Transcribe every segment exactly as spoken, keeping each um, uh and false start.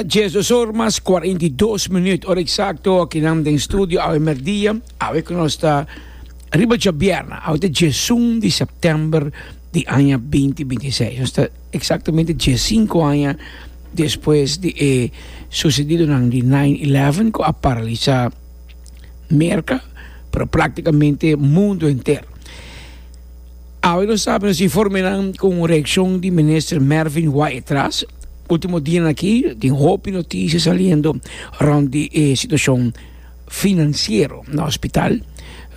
Diesdos or mas cuarenta y dos minuut, ora exacto aki nan den studio awe merdia, awe cu nos ta riba djabierna, awe ta diesun di september di aña binti binti i seis. Nos ta exactamente diescinco aña despues di e sucedidonan di nine eleven cu a paralisa Merca, pero practicamente mundo enter. Awe nos sabi nos informenan cu un reaccion di minister Mervin Wyatt-Ras. Ultimo dianan aki tin hopi noticia saliendo rond di e situacion financiero na hospital.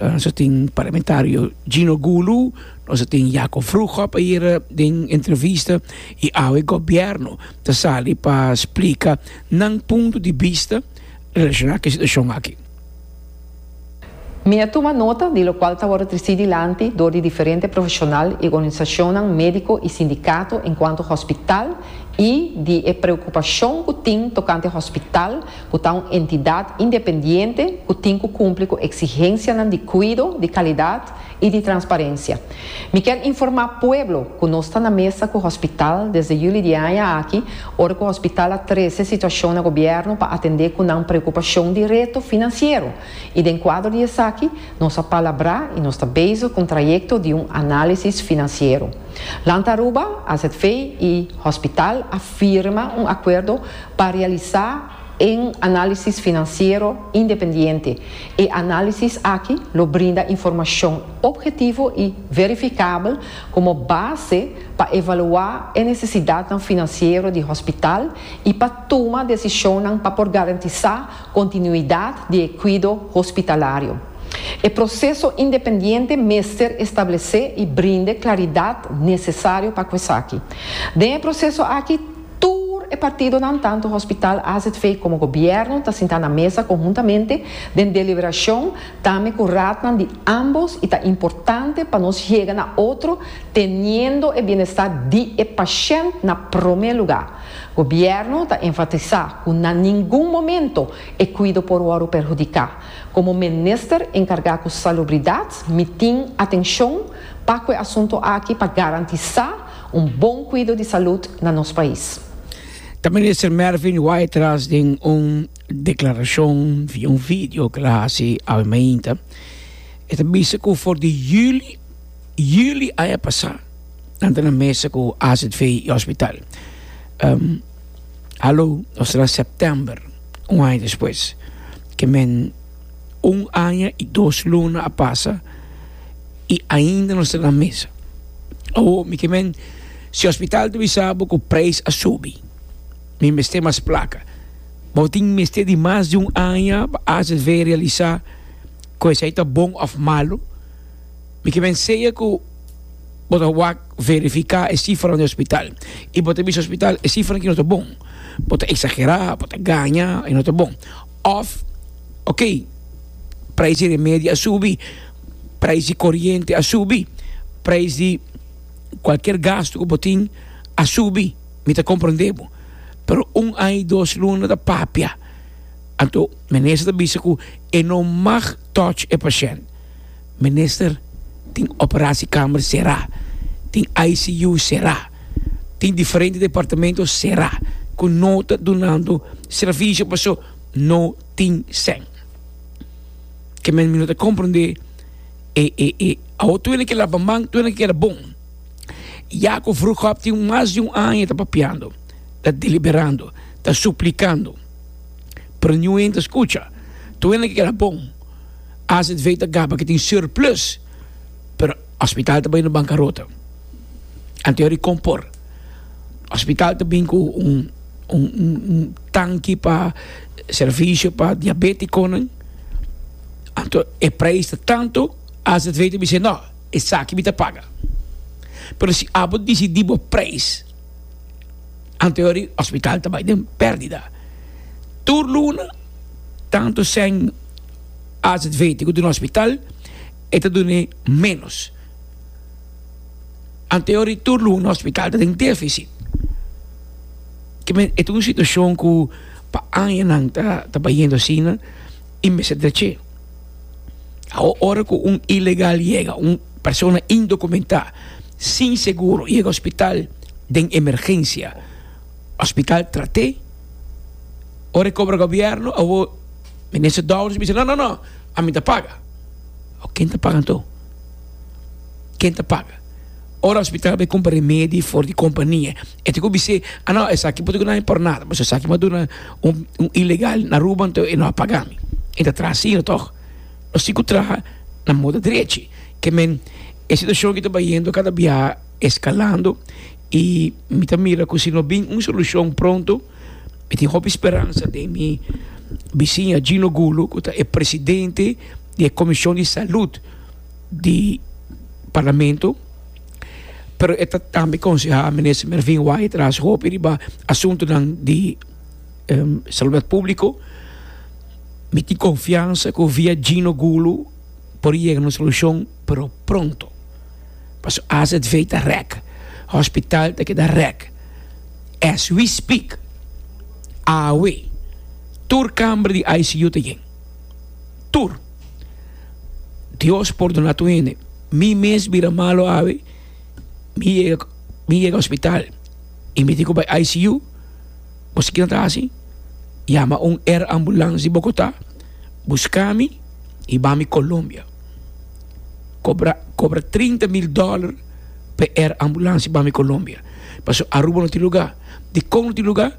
Nos tin parlamentario Gino Gulu, nos tin Jacob Vroegop ayer den entrevista y awe gobierno ta sali pa splica nan punto di bista relaciona cu e situacion aki. Mi a tuma nota di locual ta wordo treci dilanti door di diferente profesional y organisacionnan medico y sindicato encuanto hospital y di e preocupacion cu tin tocante hospital cu ta un entidad independiente cu tin cu cumpli cu exigencianan di cuido, di calidad y di transparencia. Mi kier informa pueblo cu nos ta na mesa cu hospital desde juli di aña aki, ora cu hospital a trece situacion na gobierno pa atende cu nan preocupacion di reto financiero. Y den cuadro di esaki nos a palabra y nos ta bezig cu un trayecto di un analisis financiero. Land Aruba, A Z V y hospital a firma un acuerdo pa realisa un analisis financiero independiente. E analisis aki lo brinda informacion obhetivo y verificabel como base pa evalua e necesidad financiero di hospital y pa tuma decision pa por garantisa continuidad di cuido hospitalario. E proceso independiente mester establece y brinda claridad necesario pa esaki. Den e proceso aki, tur e partidonan, tanto hospital, A Z V como gobierno, ta sinta na mesa conhuntamente den deliberacion, tambe cu raadnan di ambos, y ta importante pa nos yega na otro, teniendo e bienestar di e pashent na prome lugar. Gobierno ta enfatisa cu na ningun momento e cuido por wordo perhudica. Como minister encarga cu salubridad, mi tin atencion pa e asunto aki pa garantisa un bon cuido di salud na nos pais. Ta minister Mervin Wyatt-Ras den un declaracion via un video cu el a haci awe mainta. E ta bisa cu for di juli, juli aña pasa, nan ta na mesa cu A Z V y hospital. Ehm, hallo, nos ta na september, un aña despues. Ke men un aña y dos luna a pasa y ainda no ta na mesa. Oh, mi ke men, si hospital ta bisa bo cu prijs a subi, mi mester mas placa. Bo tin mester di mas di un aña pa A Z V realisa cu esey ta bon of malo. Mi ke men sea cu bo ta wak verifica e cifra di hospital. Y bo ta bisa hospital, e cifra aki no ta bon. Bo ta exagera, bo ta gaña, e no ta bon. Of, ok, prijs di remedio a subi, prijs di coriente a subi, prijs di cualkier gasto cu bo tin a subi, mi ta comprende bo. Pero un aña y dos luna ta papia. Anto, minister ta bisa cu e no mag touch e pashent. Minister, tin operatiekamer sera, tin I C U sera, tin diferente departamento sera, cu no ta dunando servicio paso no tin sen. Ke men mi no ta comprende e, e, e, a outro ene que lava man, tu ene que era bom. Jacob Vroegop tin mas di un aña ta papiando, ta deliberando, ta suplicando. Pero ningun hende ta scucha. Tu ene que era bom. A Z V ta gaba que tin surplus, pero hospital ta bay na bancarota. Anterior compor. Hospital ta bin cu un, un, un, un tanki pa servicio pa diabeticonan. Anto e prijs ta tanto, A Z V ta bisa, no, esaki mi ta paga. Pero si abo decidi bo prijs, anterior hospital ta bay den pérdida. Tur luna, tanto sen A Z V te ku hospital, e ta dune menos. Anterior tur luna hospital ta den déficit. Ke men, e ta un situacion ku pa añanan ta, ta bayendo asina, y mester dreche. Ora ku un ilegal llega, un persona indocumentada, sin seguro, llega hospital den emergencia, hospital trate, Ora e cobra gobierno, awo minister Dowers bisa no no no, ami ta paga. O ken ta paga anto? Ken ta paga? Ora hospital bay cumpra remedi for di compania, e tin cu bis'e, ah no, esaki bo tin cu dami por nada, pasobra esaki mi a duna un un ilegal na Aruba anto e no a paga mi. E ta traha asina toch? Nos tin cu traha na moda drechi. Ke men e situacion aki ta bayendo cada biaha escalando y mi ta mira cu si no bin un solucion pronto, mi tin hopi speransa den mi bisiña Gino Gulo cu ta e presidente di e comision di salud di Parlamento, pero e ta tambe conseha Minister Mervin Wyatt-Ras hopi riba asuntonan di salubridad publico. Mi tin confiansa cu via Gino Gulo por yega na un solucion, pero pronto. Pasobra A Z V ta rek, hospital ta keda rek. As we speak, awe, tur kamber di I C U ta yen. Tur. Dios pordona tur hende. Mi mes bira malo awe, mi yega, mi yega hospital y mi tin cu bay I C U, bo sa kinan ta haci? Yama un air ambulance di Bogota, busca mi y ba mi Colombia. Cobra, cobra trinta mil dollar pa air ambulance y ba mi Colombia. Pasobra Aruba no tin lugar. Dicon no tin lugar?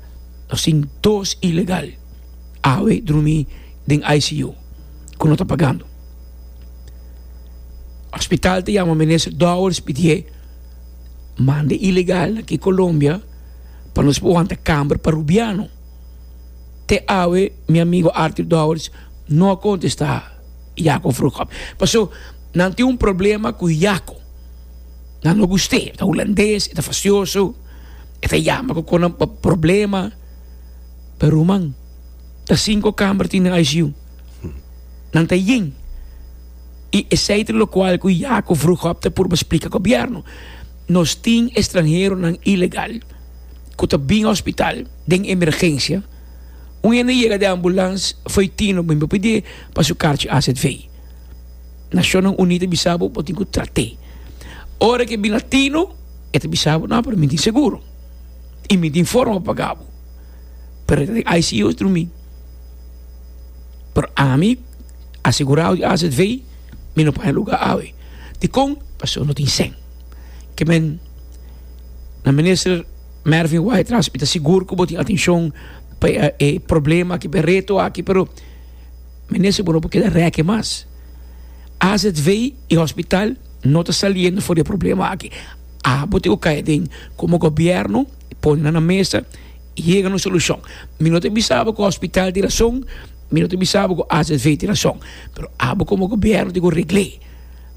Nos tin dos ilegal awe drumi den I C U cu no ta pagando. Hospital ta yama minister Dowers pidié manda ilegal aki Colombia pa nos por wanta camber pa Rubiano. Te awe mi amigo Arthur Dowers no a contesta Jaco Vroegop. Paso nan tin un problema cu Jaco. Nan no gust'é, ta hulandes, e ta fastioso, e ta yama cu con pa problema. Pero ruman, ta cinco camber tin den I C U. Nan ta yen. Y esei ta locual cu Jaco Vroegop ta purba splica gobierno. Nos tin extranheronan ilegal cu ta bin hospital den emergencia. Un hende yega den ambulans foi tino, mi pidi pa su karchi A Z V. Nacionnan Uní ta bisa bo, bo tin cu trat'é. Ora ke bin latino, e ta bisa bo, no, pero mi tin seguro. Y mi tin forma pa paga bo. Pero e ta den I C U drumi. Pero ami, asegurado di A Z V, mi no paña lugar awe. Dikon? Pasobra no tin sen. Ke men, na minister Mervin Wyatt-Ras, mi ta sigur ku bo tin atenshon pa e, e problema aki, pa e reto aki, pero minister, bo no por keda reke mas. A Z V y hospital no ta saliendo for di e problema aki. Abo tin ku kai den como gobierno, pone nan na mesa y yega na un solushon. Mi no ta bisa bo ku hospital tin rason, mi no ta bisa bo ku A Z V tin rason, pero abo como gobierno tin ku regl'é.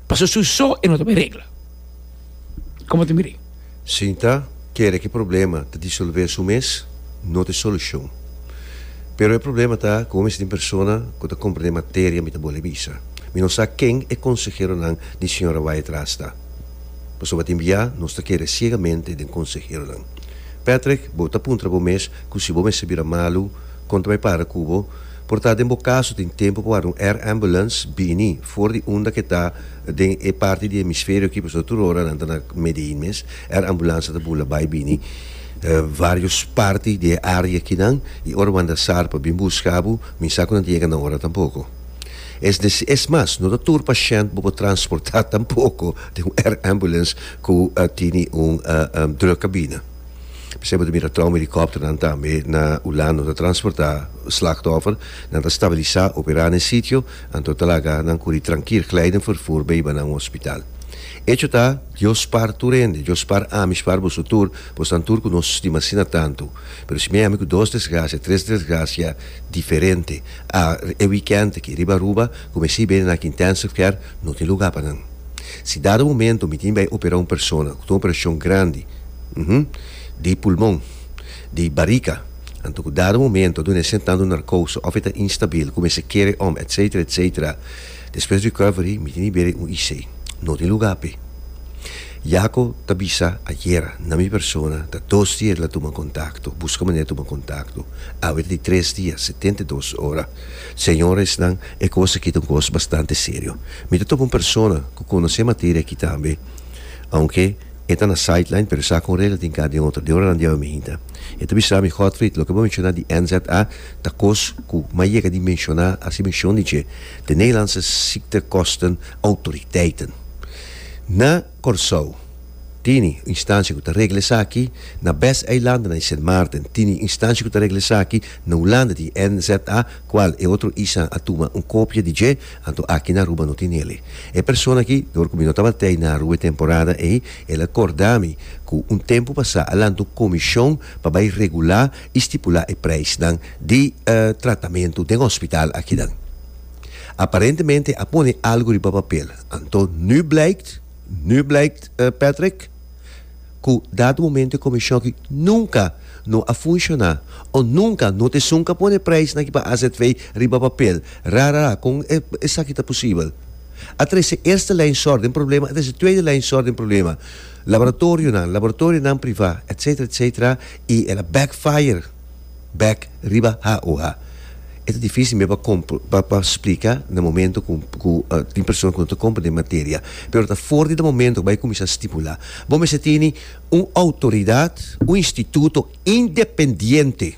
Pasobra su so e no ta bay regla. Como ta mira? Sinta kere ke problema ta disolve su mes, no ta e solushon. Pero e problema ta ku mi tin persona ku ta komprende materia mi ta bole bisa. Mi no sa ken e konseheronan di señora Wyatt-Ras ta. Pasobra tin bia nos ta kere ciegamente den konseheronan. Patrick, bo ta puntra bo mes ku si bo mester bira malu, kon ta bai para ku bo? Por ta den bo kaso tin tempu pa warda un air ambulance bini for di unda ke ta den e parti di hemisferio aki, pasobra tur ora nan ta na Medellin mes, air ambulance ta bula bai bini varios parti di e area akinan, i ora bo anda sar pa bin buska bo, mi sa ku nan ta yega na ora tampoko. Es desi, es mas, no ta tur pashènt bo por transportá tampoko den un air ambulance ku tini un druk kabina. P'esei bo ta mira trauma helikòpternan tambe na Hulanda ta transportá slachtoffer, nan ta stabilisá, operá na e sitio, anto ta laga nan kuri trankil, glijden vervoer bay hiba nan un hospital. Echo ta, Dios spar tur hende, Dios spar ami, spar boso tur, bosnan tur ku nos stima asina tantu. Pero si mi ami ku dos desgrasia, tres desgrasia diferente a e wikènt aki riba Aruba, ku mi si bini na aki intensive care, no tin lugá pa nan. Si dado momento mi tin bai operá un persona ku ta un operashon grandi, uhum, di pulmon, di barika, anto ku dado momento a duna e sentando narkose òf e ta instabil, ku mester kere om, etcetera, etcetera, despues recovery mi tin di bere un I C. No tin lugá p'e. Jaco ta bisa ayera na mi persona ta dos dia el a tuma kontakto, buska manera tuma kontakto. Awe ta di tres dia, setenta i dos ora. Señoresnan, e kos aki ta un kos bastante serio. Mi ta topa un persona ku konosé materia aki tambe, aunke E ta na sideline, pero sa kon regla tin ka den otro, den oranan di awe mainta. E ta bisa mi, Godfried, loke bo menshoná di N Z A ta kos ku m'a yega di menshoná, hasi menshon di dje, de Nederlandse Ziektekosten Autoriteiten. Na Kòrsou tini instansia ku ta regla esaki, na BES-eilanden, na Sint Maarten tini instansia ku ta regla esaki, na Hulanda tin N Z A, kual e otro isla a tuma un kopia di dje, anto aki na Aruba no tin ele. E persona aki, dor ku mi no tabata na Aruba e temporada ei, el a korda mi ku un tempu pasá a lanta un komishon pa bai regulá i stipulá e preisnan di tratamentu den hospital akinan. Aparentemente a pone algu riba papel. Anto nu blijkt, nu blijkt, Patrick, ku dado momento e komishon aki nunka no a funshoná o nunka no ta esun ku a pone preisnan aki pa A Z V riba papel. Ra ra ra, kon esaki ta posibel? A trese eerste lijn zorg den problema, a trese tweede lijn zorg den problema. Laboratorionan, laboratorionan privá, etcetera, etcetera, i el a backfire bek riba H O H. E ta difísil mes pa pa pa splika na momento ku ku tin persona ku no ta komprendé materia. Pero ta for di e momento ku bai kuminsá stipulá. Bo mester tene un outoridat, un instituto independiente,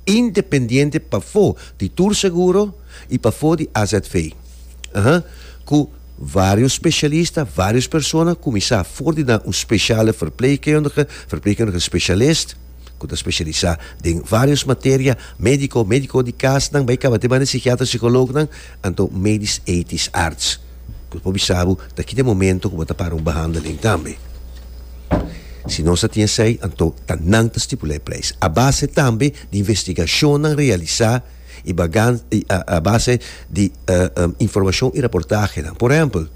independiente pafó di tur seguro i pafó di A Z V. Aha. Ku vários spesialista, vários persona kuminsá for di un speciale verpleegkundige, verpleegkundige specialist, ku ta spesialisá den vários materia, médiko, médiko di kasnan, bai kaba te banda psikiatra, psikolognan, anto medisch ethisch arts. Ku por bisa bo ta ki den momento ku bo ta para un behandeling tambe. Si nos a tin esei, anto ta nan ta stipulá e preis. A base tambe di investigashonnan realisá i bagan i a, a base di uh, um, informashon i reportahenan. Por ehèmpel,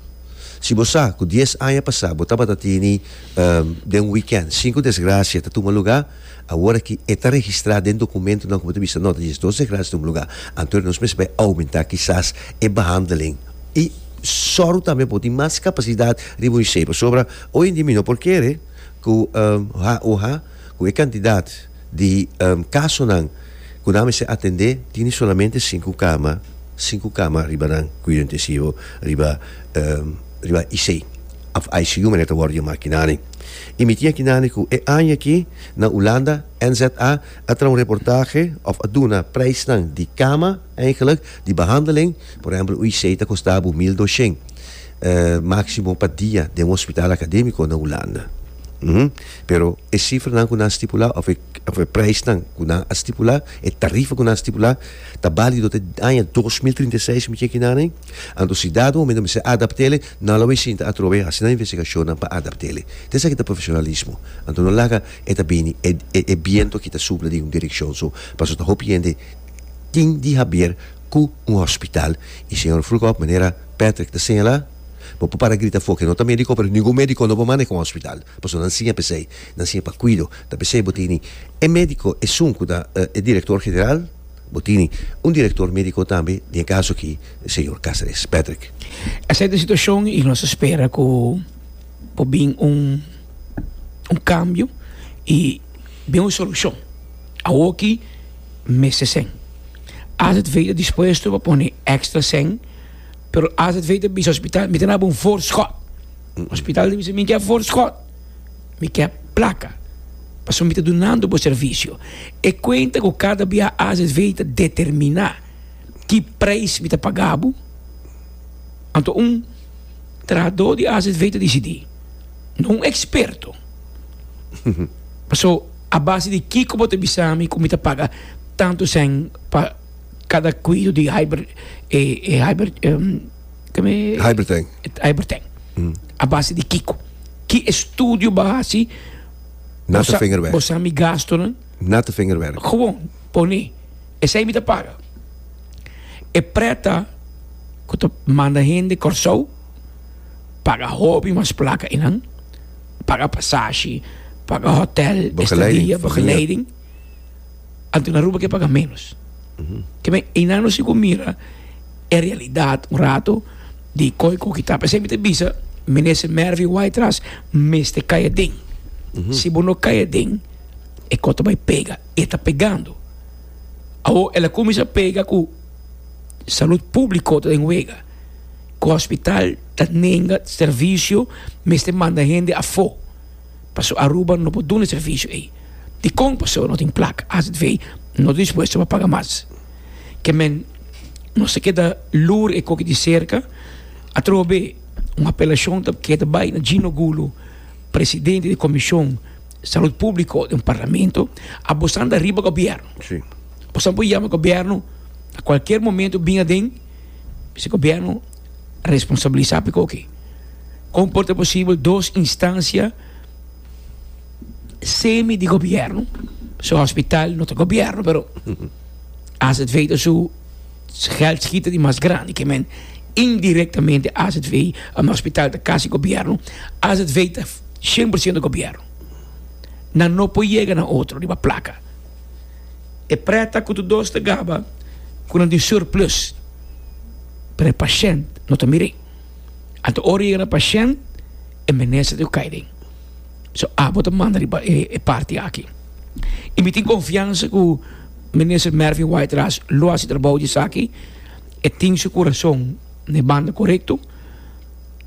si bo sa ku dies aña pasá bo tabata tini um, den un weekend sinku desgrasia ta tuma lugá, awor aki e ta registrá den dokumentonan ku bo ta bisa, no, ta diesdos desgrasia tuma lugá. Anto nos mester bai oumentá kisas e behandeling. I sòru tambe por tin mas kapasidat riba un I C. Pasobra hoy en dia mi no por kere ku um, H O H, ku e kantidat di um, kasonan ku nan mester atendé, tin solamente sinku kama, sinku kama riba nan kuido intensivo, riba um, riba I C òf I C U manera ta wòrdu yamá akinani. I mi tin akinani ku e aña aki na Hulanda N Z A a traha un reportahe òf a duna preisnan di kama eigenlijk, di behandeling. Por ehèmpel, I C ta kosta bo mil doshen uh, máksimo pa dia den un hospital akadémiko na Hulanda. Mm -hmm. Pero e sifranan ku nan a stipulá, òf e, òf e preisnan ku nan a stipulá, e tarifa ku nan a stipulá, ta válido te aña dos mil trinta i seis, mi akinani. Anto si dado momento mester adapt'é, nan lo bai sinta atrobe hasi nan investigashonnan pa adapt'é. Esaki ta profeshonalismo. Anto no laga e ta bini e, e, e biento ku ta supla di un direkshon so, paso ta hopi hende tin di haber ku un hospital. I señor Vroegop, manera Patrick ta señalá, bo por para grita afó ku no ta médiko, pero ningun médiko no por manehá un hospital. Paso nan siña p'esei, nan siña pa kuido. Ta p'esei bo tini e médiko esun ku ta e direktor general, bo tini un direktor médiko tambe, den kaso aki, señor Cáceres. Patrick. Esei ta e situashon i nos ta spera ku por bin un un kambio i bin un solushon. Awoki mester sèn. A Z V ta dispuesto pa pone èkstra sèn, pero A Z V ta bisa hospital, mi ta duna un voorschot. Hospital ta bisa, mi ke voorschot. Mi ke plaka. Paso mi ta dunando bo servisio. E kuenta ku kada bia A Z V ta determiná ki preis mi ta paga bo. Anto un trahadó di A Z V ta disidí. No un eksperto. Paso a base di kiko bo ta bisa mi ku mi ta paga tantu sèn pa kada kuido di hyper eh, eh, hyper um, kome Hypertank. Hypertank. A base di kiko? Ki estudio bo a hasi? Natte vingerwerk. Bo sa mi gastonan? Natte vingerwerk. Gewoon, pone. Esei mi ta paga. E preta ku ta manda hende Kòrsou, paga hopi mas plaka einan, paga pasashi, paga hotel, Begeleiding, estadia, famia. Begeleiding. Anto na Aruba ke paga menos. Ke men einan no sigo mira e realidat un rato di koi ku kita. P'esei mi ta bisa, minister Mervin Wyatt-Ras, mester kai aden. Si bo no kai aden, e kos ta bai pega. E ta pegando. Awor, el a kuminsá pega ku salú públiko ta den wega. Ku hospital ta nenga servisio, mester manda hende afó. Paso Aruba no por duna e servicio ey. Dicon? Paso no tin placa. A Z V no ta dispuesto pa paga mas. Ke men nos ta keda lur e cos aki di cerca. Atrobe un apelacion ta keda bay na Gino Gulo, presidente di Comision Salud Publico di Parlamento, abo ta riba gobierno. Si. Bo por yama gobierno na cualkier momento bin aden, si gobierno responsabilisa pa loke. Con por ta posibel dos instancia semi di gobierno, su hospital no ta gobierno, pero A Z V ta su geldschieter di mas grandi, ke men indirectamente A Z V, un hospital ta casi gobierno, A Z V ta cien porciento gobierno. Nan no por yega na otro, riba placa. E preta cu tur dos ta gaba, cu nan tin surplus. Pero e pashent no ta mira. Anto ora yega na pashent, e minister ta cay den. So, abo ta manda riba e, e parti aki. Y mi tin confiansa cu minister Mervin Wyatt-Ras lo haci trabou di esaki e tin su curason na banda corecto.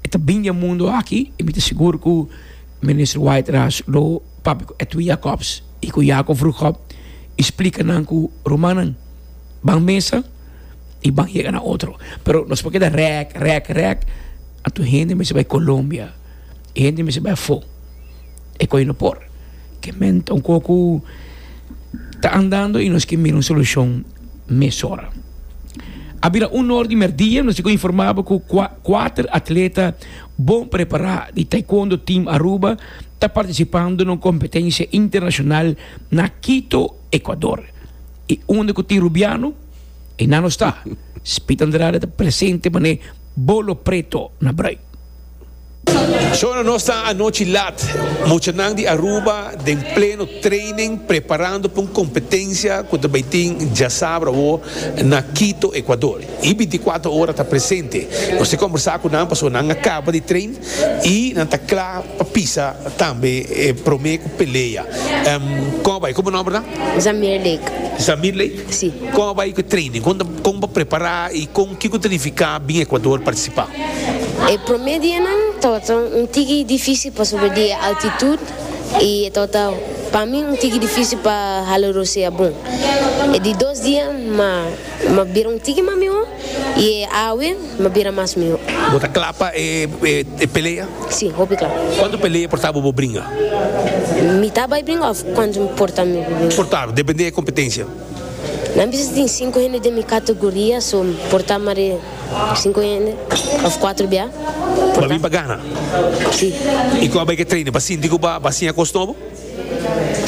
E ta bin di mundo aki y mi ta sigur cu minister Wyatt-Ras lo papia cu Edwin Jacobs y cu Jacob Vroegop y splica nan cu rumannan, ban mesa y ban yega na otro. Pero nos por keda rek, rek, rek. Anto hende mester bay Colombia. Hende mester bay afo. E cos no por. Ke men un poco ta andando y nos kier mira un solucion mesora. A bira un or di merdia, nos a informa cu cuater atleta bon prepara di Taekwondo Team Aruba ta participando den un competencia internacional na Quito, Ecuador. Y unda cu tin Rubiano, y nan no ta. Speed Andrade ta presente mane bolo preto na brui. Shona, nos ta anochi lat, muchanan di Aruba, den pleno training, preparando pa un competencia cu tambe tin diasabra na Quito, Ecuador. Y binticuater Ora ta presente. Nos ta combersa cu nan, paso nan a caba di train y nan ta cla pa pisa tambe eh, prome pelea. Um, con ta bay? Con nomber, no? Zamir Lake. Zamir Lake? Si. Con ta bay cu training? Con con pa prepara y con kico ta significa bin Ecuador participa? E prome dianan tabata un tiki dificil pa sobre di altitud y tabata pa mi un tiki dificil pa hala rosea bon. E di dos dia m'a m'a bira un tiki mas miho y awe m'a bira mas miho. Bo ta cla pa e, e, e pelea? Si, hopi cla. Cuanto pelea por ta bo bringa? Mi ta bay bringa of cuanto por ta mi bringa? Por ta, depende di competencia. Nan bisa tin cinco hende den mi categoria, so por ta mare cinco hende of cuater bia. Pa bin pa gana. Si. Y con ta bay cu training? Pa sinti cu pa siña cos nobo?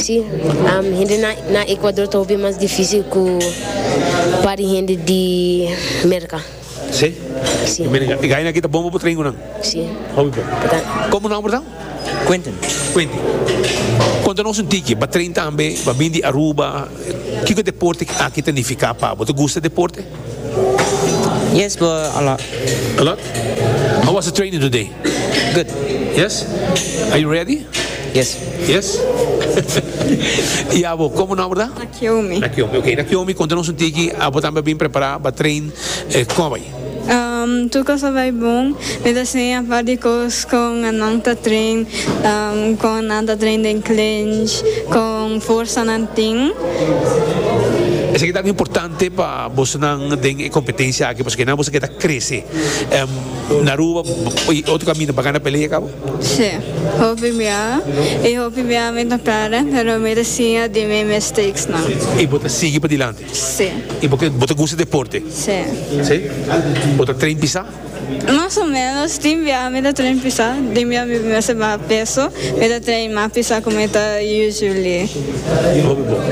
Si, um, hende na, na Ecuador ta hopi mas dificil cu pa hende di Merca. Si? Si. E gana aki ta bon pa train nan. Si. Hopi bon. Ta. Con nomber ta? Quentin. Quentin. Conta nos un tiki, bo a train tambe, bo a bin di Aruba, kico deporte aki ta significa pa bo? Gusta deporte? Yes, but a lot. A lot? How was the training today? Good. Yes? Are you ready? Yes. Yes? Y abo, con nomber ta? Nakiomi. Nakiomi, ok. Nakiomi, conta nos un tiki, abo tambe bin prepara pa train, eh, con ta bay? Um, tur cos a bay bon. Mi ta siña varios cos con nan ta train, um, con nan ta train den clinch, con forsa nan tin. Esaki ta importante pa bo den competencia aki, pasobra nan bo kier crece. Um, na Aruba, otro caminda pa gana pelea, caba? Si, hopi bia. Y hopi bia mi ta para, pero mi ta siña di mi mistakes nan. Y bo ta sigui pa dilanti. Si. Y pakico bo gusta deporte? Si. Si? Bo ta train pisa? Mas o menos, tin bia mi ta train pisa, tin bia mi mester baha peso, mi ta train mas pisa cu mi ta usually. Hopi bon.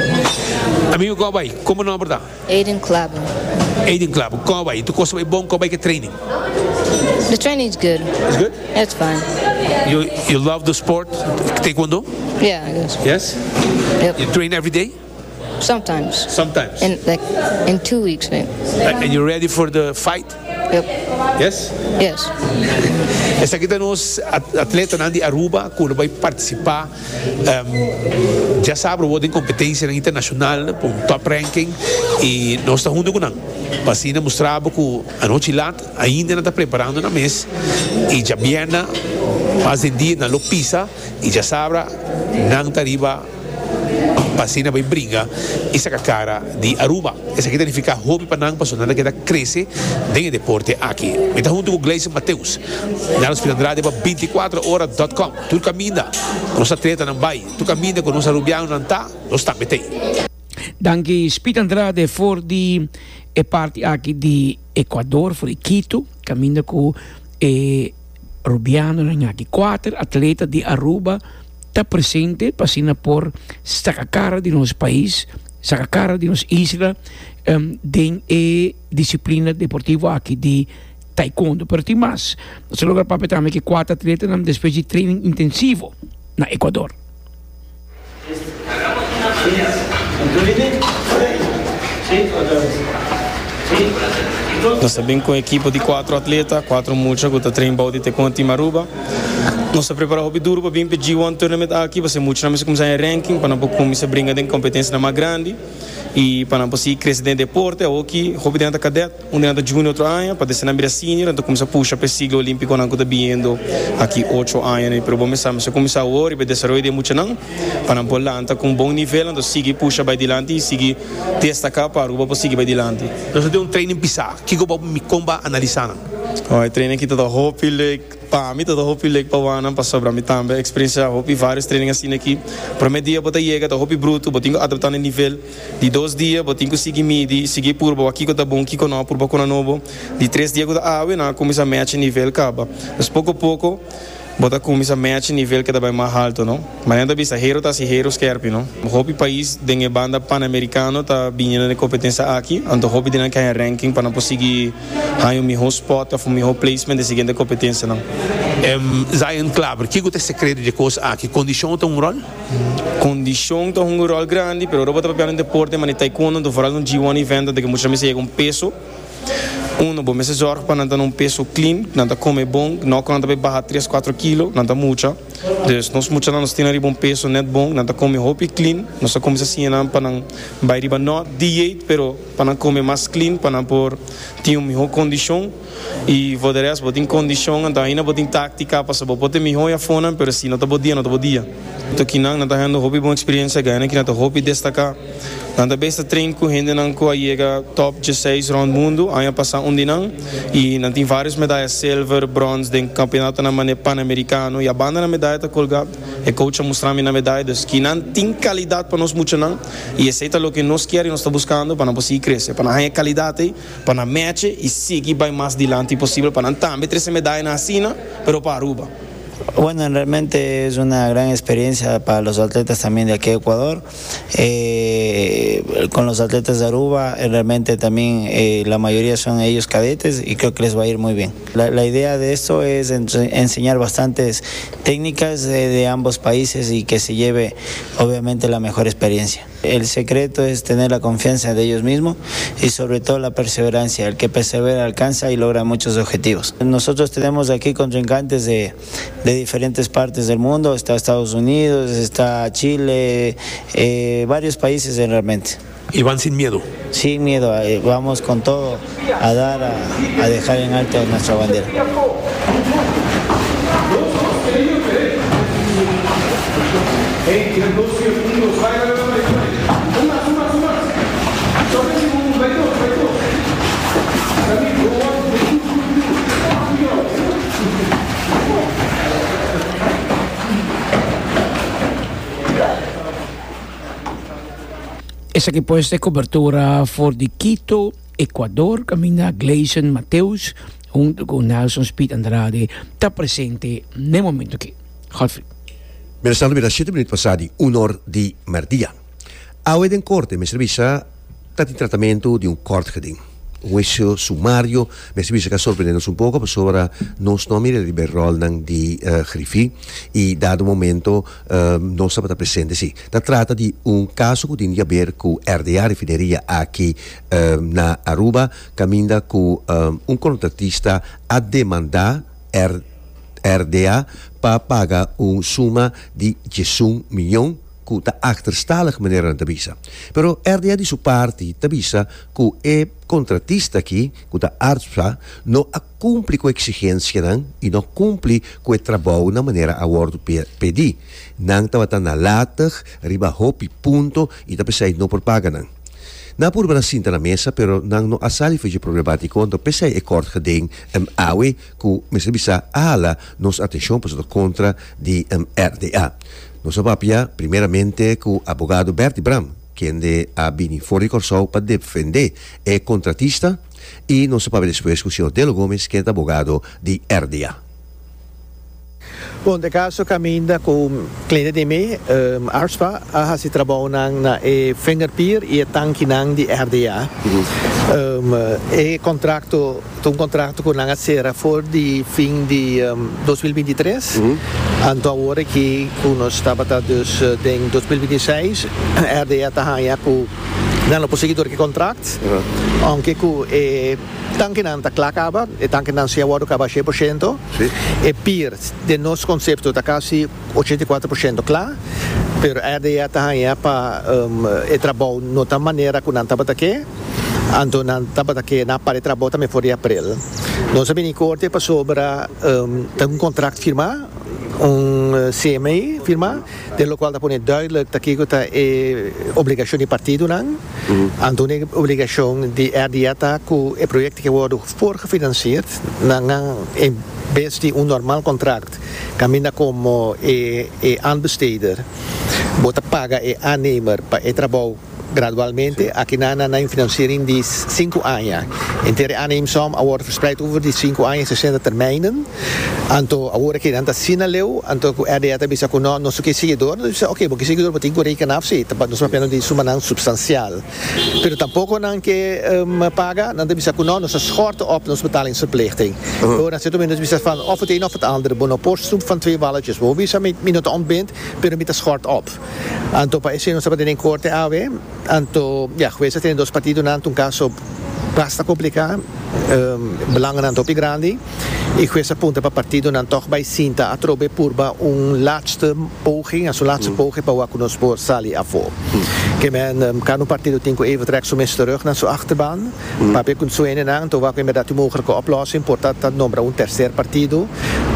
Amigo, con ta bay? Con nomber ta? Aiden Clabber. Aiden Clabber, con ta bay? Tur cos ta bay bon, con ta bay cu training? The training's good. It's good? It's fine. You, you love the sport, taekwondo? Yeah, I guess. Yes? Yep. You train every day? Sometimes. Sometimes. In like in two weeks, maybe. And you're ready for the fight? Yep. Yes? Yes. Esaki ta nos atletanan di Aruba cu bay participa um, diasabra den competencia internacional pa un top ranking y nos ta hunto cu nan. Pa asina mustra bo ku anochi lat ainda nan ta preparando nan mes i djabièrnè mas den dia nan lo pisa i djasabra nan ta riba pa asina bai bringa i saka kara di Aruba. Esaki ta nifiká hopi pa nan pasobra nan ta keda krese den e deporte aki. Mi ta huntu ku Gleison Mateus na Los Pilandrade pa binti kuater ora dòt kòm. Tur kaminda ku nos atletanan bai, tur kaminda ku nos arubianonan ta, nos tambe t'ei. Danki Speed Andrade for di e parti aki di Ecuador, for di Quito, kaminda ku e rubianonan aki. Kuater atleta di Aruba ta presente pa asina por saka kara di nos pais, saka kara di nos isla den e disiplina deportivo aki di taekwondo. Pero tin mas, nos a logra papia tambe ku e kuater atletanan despues di training intensivo na Ecuador. Nos ta bin cu un ekipo di cuatro atleta, cuatro mucha cu ta train bou di Taekwondo Team Aruba. Nos ta prepara hopi duro pa bin p'e G one Tournament aki, pasobra muchanan mester cuminsa haña ranking pa nan por cuminsa bringa den competencianan mas grandi y pa nan por sigui crece den e deporte. Awoki hopi di nan ta cadet, un di nan ta junior otro aña, pa despues nan bira senior, nan ta cuminsa pusha p'e siglo olimpiconan cu ta biniendo aki ocho aña. Pero bo mester sa, mester cuminsa awor riba e desaroyo di e muchanan pa nan por lanta cu un bon nivel, anto sigui pusha bay dilanti y sigui destaca pa Aruba por sigui bay dilanti. Nos a tin un training pisá. Kiko bo mi kon ba analisá nan? Oh, e training aki ta ta hopi leuk pa mi, ta ta hopi leuk pa wak nan, pasobra mi tambe a experiencia hopi varios training asina aki. Prome dia bo ta yega ta hopi bruto, bo tin ku adapta na e nivel. Di dos dia bo tin ku sigui midi, sigui purba wak kiko ta bon, kiko no, purba kona nobo. Di tres dia ku ta awe nan a kuminsa match e nivel kaba. Dus poko poko bo ta kuminsa match e nivel ke ta bai mas halto, no? Manera ta bisa, hero ta hasi hero skerpi, no? Hopi pais den e banda Panamericano ta bini na e competencia aki, anto hopi di nan ke haña ranking pa nan por sigui haña un miho spot of un miho placement den siguiente competencianan. Zion Klaber, Kiko ta e secreto dje cos aki? Condicion ta un rol? Condicion ta hunga un rol grandi, pero ora bo ta papia den deporte manera taekwondo, anto vooral un G one event, anto ke mucha mester yega un peso. Uno, bo mester zorg pa nan ta na un peso clean, nan ta come bon, no cu nan ta bay baha tres, cuatro kilo, nan ta mucha. Dus nos muchanan nos tin nan riba un peso net bon, nan ta come hopi clean, nos a cuminsa siña nan pa nan bay riba no dieet, pero pa nan come mas clean, pa nan por tin un miho condicion. Y voor de rest, bo tin condicion, anto ainda bo tin tactica, pasobra bo por ta miho afonan, pero si no ta bo dia, no ta bo dia. Anto kinan nan ta hendo hopi bon experiencia, gana kinan ta hopi destaca. Nan ta bes ta train cu hendenan cu a yega top diesseis rond mundo aña pasa un di nan y nan tin varios medaya silver, brons den campeonatonan mane Panamericano y a banda nan medaya ta colga. E coach a mustra mi nan medaya dus kinan tin calidad pa nos muchanan y esey ta loke nos kier y nos ta buscando pa nan por sigui crece, pa nan haña e calidad ey, pa nan meche y sigui bay mas dilanti posibel pa nan tambe trece medayanan asina pero pa Aruba. Bueno, realmente es una gran experiencia para los atletas también de aquí de Ecuador. Eh, con los atletas de Aruba, eh, realmente también, eh, la mayoría son ellos cadetes y creo que les va a ir muy bien. La, la idea de esto es ense-, enseñar bastantes técnicas de, de ambos países y que se lleve obviamente la mejor experiencia. El secreto es tener la confianza de ellos mismos y sobre todo la perseverancia. El que persevera alcanza y logra muchos objetivos. Nosotros tenemos aquí contrincantes de, de diferentes partes del mundo. Está Estados Unidos, está Chile, eh, varios países realmente. Y van sin miedo. Sin miedo, eh, vamos con todo a dar, a, a dejar en alto nuestra bandera. Esaki pues ta e cobertura for di Quito, Ecuador, caminda Gleison Mateus hunto cu Nelson Speed Andrade ta presente n'e momento aki. Godfrey. Mientras tanto, mira, siete minuut pasá di un or di merdia. Awe den corte, mester bisa, ta tin tratamiento di un kort geding. Un huicio sumario, mester bisa que sorprendernos un poco, pasobra nos no mira riba e rolnan di, eh, Griffie, y dado momento, eh, nos tabata presente, sí. Ta trata di un caso cu tin di haber cu R D A, refineria aki, eh, na Aruba, caminda cu, eh, un contratista a demanda R-, R D A pa paga un suma di diesun miljoen Ku ta achterstallig, manera nan ta bisa. Pero R D A di su parti ta bisa ku e kontratista aki, ku ta ARSPA, no a kumpli ku eksigensianan i no a kumpli ku e trabou na manera a wòrdu pedí. Nan tabata nalatig riba hopi punto i ta p'esei no por paga nan. Nan a purba sinta na mesa, pero nan no a sali for di problemátiko, anto p'esei e kort geding um, awe ku mester bisa a hala nos atenshon pasobra kontra di um, R D A. Nos a papia primeramente ku abogado Bertie Bram, kende a bini for di Kòrsou pa defendé e kontratista, i nos a papia despues ku señor Delo Gomes, ku ta abogado di R D A. Bon, den kaso kaminda ku kliente di mi, um, ARSPA, a hasi trabou na e vingerpier i e tankinan di R D A. Um, e kontrakto, un kontrakto ku nan a sera for di fin di um, dos mil bintitres. Anto awor ku ku nos tabata dus uh, den dos mil bintiseis, R D A ta haña ku nan no por sigui ku e kontrakt. Aunke ku e tankinan ta kla kaba, e tankinan sí a wòrdu kaba shen porshento. E pier, den nos konsepto, ta kasi ochenta i kuater porshento kla, pero R D A ta haña pa um, e trabou no ta manera ku nan tabata ke, anto nan tabata ke nan para e trabou tambe for di aprel. Nos a bini korte pasobra um, tin un kontrakt firmá, un eh, C M A firmá, den lokual ta pone duidelijk dat kiko ta e obligashon di partidonan. Anto e obligashon di R D A ta ku e proyekto ku wòrdu voorgefinancierd, nan en bes di un normaal kontrakt, kaminda komo e, e aanbesteder, bo ta paga e aannemer pa e trabou gradualmente. Aki nan na een financiering di sinku aña. Henter aanneemsom wordt verspreid over die sinku aña, sesenta termijnen. Anto awor ku nan ta asina leu, anto ku R D A ta bisa ku no, nos ke sigui dor, nos bisa, oké, bo ke sigui dor, bo tin ku reken af, sí, nos papia di sumanan substansial. Pero tampoko nan ke um, paga, nan ta bisa ku no, nos schort op nos betalingsverplichting. Uh -huh. Dan zit nos bisa van of het een of het andere, bo no por snoep van twee walletjes. Bo bisa mi mi no ta ontbind, pero mi ta schort op. Anto pa esei nos tabata den korte awe, anto ja, geweest het in dos partidonan, un kaso basta kompliká, um, belangennan hopi grandi. I hues a punta pa partidonan toch bai sinta atrobe purba un laatste poging, een laatste mm. poging pa wak nos por sali afó. Mm. Ke men um, kan un partido tin ku even trek su mes terug naar zijn achterban. Mm. Papia ku su hendenan, anto wak inderdaad een mogelijke oplossing, por ta nombra un tercer partido,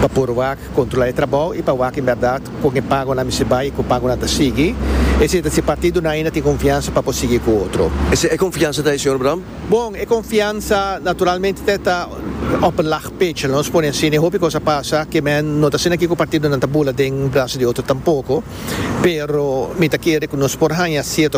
pa por wak kontrolá e trabou i pa wak inderdaad kon e pagonan mester bai, kon pagonan ta sigui. Esei ta si partidonan ainda tin konfiansa pa sigui ku otro. E konfiansa ta, señor Bram? Bon, e konfiansa naturalmente ta op een laag pitje. Nos pone asina, hopi kos a pasa, ke men no ta asina ku partidonan ta bula den brasa di otro tampoko, pero mi ta kere ku nos por haña sierto